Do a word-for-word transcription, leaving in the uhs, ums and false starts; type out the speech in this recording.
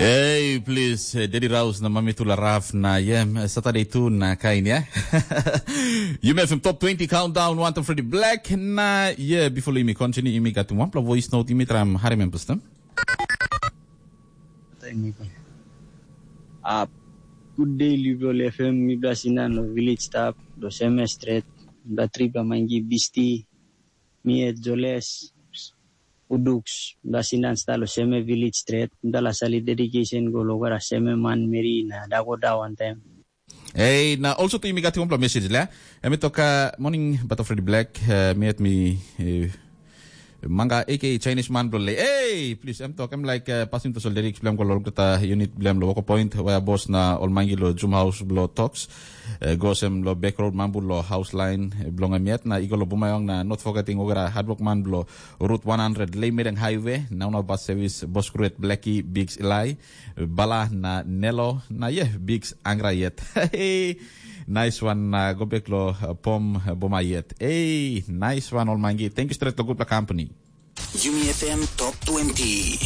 Hey, please, uh, Daddy Rouse na Mami Tula Raf na yeah, Saturday tu na kain ya. You may have top twenty countdown one to Freddy Black na yeah, before imi continue imi got one voice note imi tram harim em pastem. Thank you. Uh, good day, Liberal F M. Mi basinan lo village staff, lo seme street, da trip la mangi bisti, mi e joles, uduks, basinan sta lo seme village street, da la sali dedication go lo gara seme man meri na da go da one time. Hey, na also tu imi got one message la. Emi toka morning but of Freddy Black, uh, mi at mi uh, Manga aka Chinese man blo le. Hey, please, em tok em like uh, passing to sol lyrics blem go lo kata unit blem lo woko point where boss na ol mangi lo Zoom house blo talks. Uh, go sem lo back road mambu lo house line uh, blong em yet na igo lo bumayong na not forgetting ogara hard work man blo route one hundred Leymeeting highway now na bus service boss create Blackie Biggs Eli bala na Nelo na yeah Biggs angra yet. Hey, nice one na go back lo uh, pom uh, boma yet. Hey, nice one ol mangi. Thank you straight lo good company. Yumi F M Top twenty.